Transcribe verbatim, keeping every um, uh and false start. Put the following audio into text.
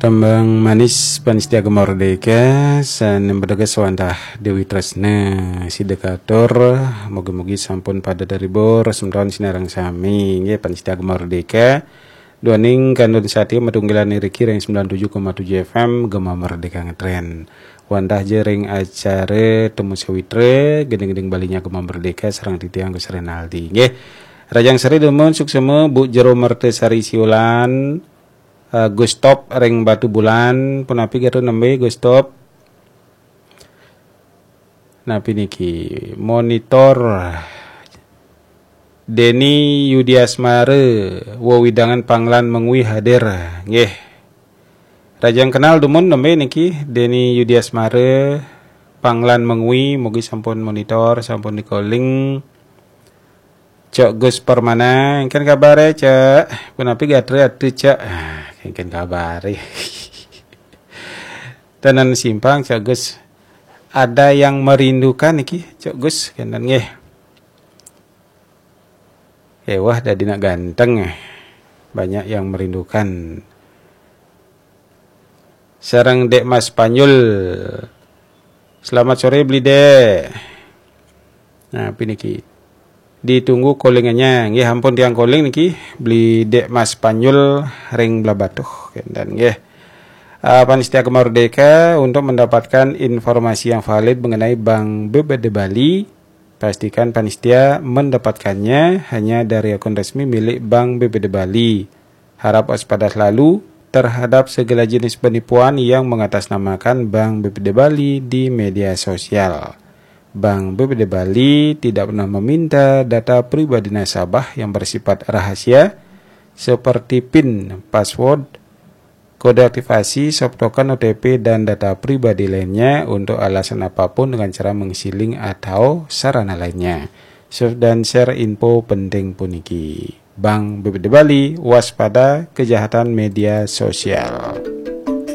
Tembang manis panitia Gema Merdeka, sané mbedeges wantah Dewi Tresna, sida katur, mugi-mugi sampun pada terhibur, semeton sinareng sami, nggih, panitia Gema Merdeka. Duaning kantun satia matunggilan iriki ring sembilan tujuh koma tujuh F M Gema Merdeka Ngetren. Wantah ja ring acara Temu Sawitra, gending-gending Balinya Gema Merdeka, sareng titiang Gus Renaldi, nggih. Rahajeng sore dumun, suksma Bu Jero Mertasari Siulan, eh, Gus Top ring Batubulan, punapi gatra nembé Gus Top? Napi niki? Monitor Deni Yudiasmara, wewidangan Panglan Mengwi hadir, nggih. Rahajeng kenal dumun nembé niki, Deni Yudiasmara, Panglan Mengwi, mugi sampun monitor, sampun di-calling. Cok Gus Permana, éngkén kabaré, Cok? Punapi gatra atu, Cok? Ah, éngkén kabaré. Tenan simpang, Cok Gus. Ada yang merindukan niki, Cok Gus, kénten nggih. Éh, wah, dadi nak ganteng. Banyak yang merindukan. Sareng Dék Mas Panyul. Selamat sore, Bli Dék. Nah, napi niki? Ditunggu callingannya. Nggih, ampun tiang calling niki, Bli Dék Mas Panyul ring Blahbatuh. Kénten nggih. Ah, panitia Gema Merdeka, untuk mendapatkan informasi yang valid mengenai Bank B B D Bali, pastikan panitia mendapatkannya hanya dari akun resmi milik Bank B B D Bali. Harap waspada selalu terhadap segala jenis penipuan yang mengatasnamakan Bank B B D Bali di media sosial. Bank B B D Bali tidak pernah meminta data pribadi nasabah yang bersifat rahasia, seperti pin, password, kode aktivasi, soft token, O T P, dan data pribadi lainnya untuk alasan apapun dengan cara mengisi link atau sarana lainnya. Save dan share info penting puniki. Bank B B D Bali, waspada kejahatan media sosial.